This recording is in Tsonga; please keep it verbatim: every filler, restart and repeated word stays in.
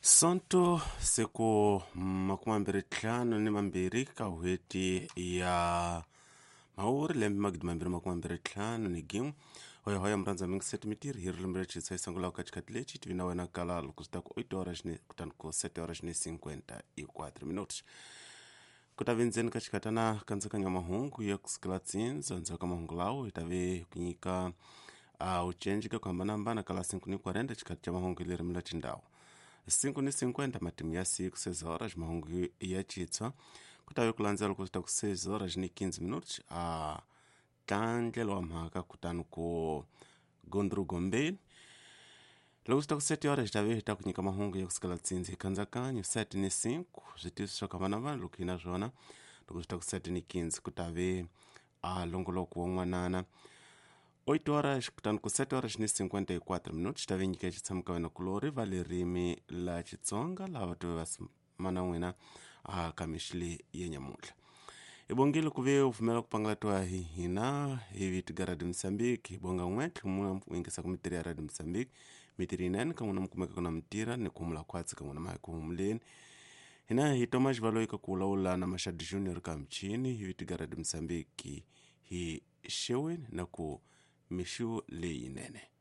Sonto siku makume mambirhi ntlhanu ni mambirhi ka n'hweti ya Mhawuri lembe magidi mambirhi makume mambirhi ntlhanu ni gin'we. Hoyahoya murhandza mingiseti mitirhi hi ririmi ra Xitsonga yi sungulaka ka xikhathi lexi tivi na wena kala loko swi ta ku oito horas ni kutani ku sete horas ni cinquenta e quatro minutos. Ku ta ve ndzeni ka xikhatana kantsakanyo wa mahungu ya kusukela tsindza ndzhaku ka mahungu lawo hi ta ve ku nyika uh, ucenji ka ku hambanahambana ka la cinco ni quarenta xikhathi xa mahungu hi ririmi ra xindhawu cinco ni cinquenta matimu ya siku seis horas mahungu ya Xitsonga ku ta ve ku landzela loko swi ta ku seis horas ni quinze minutos a ntlandlelo wa mhaka kutani ku gondru gombeni loko swi ta ku sete horas hi ta ve hi ta ku nyika mahungu ya kusukela tsindzi hi kantsakanyo sete ni cinco switiviso swa ku hambanahambana loko hi na swona loko swi ta ku sete ni quinze ku ta ve a longoloko wa n'wanana oito horas kutani ku sete horas ni cinquenta e quatro minutos ta ve nyika xitshamo ka wena kulori va ririmi la Xitsonga lava tive va mana n'wina a ka mixile ya nyamuntlha hi bongile ku ve u pfumela ku pangalatiwa hi hina hi vito ga Radio Mozambique hi bonga n'we tlhumula u yingisaka mitirhi ya Radio Mozambique mitirhi yinene ka n'wina mi kumeka ku na mitira ni ku humula khwatsi ka n'wina ma hi ku humuleni hina hi Thomas Valoyi ka ku vulavula na Mashadi Junior ka michini hi vito ga Radio Mozambique hi xeweni na ku mixo leyinene.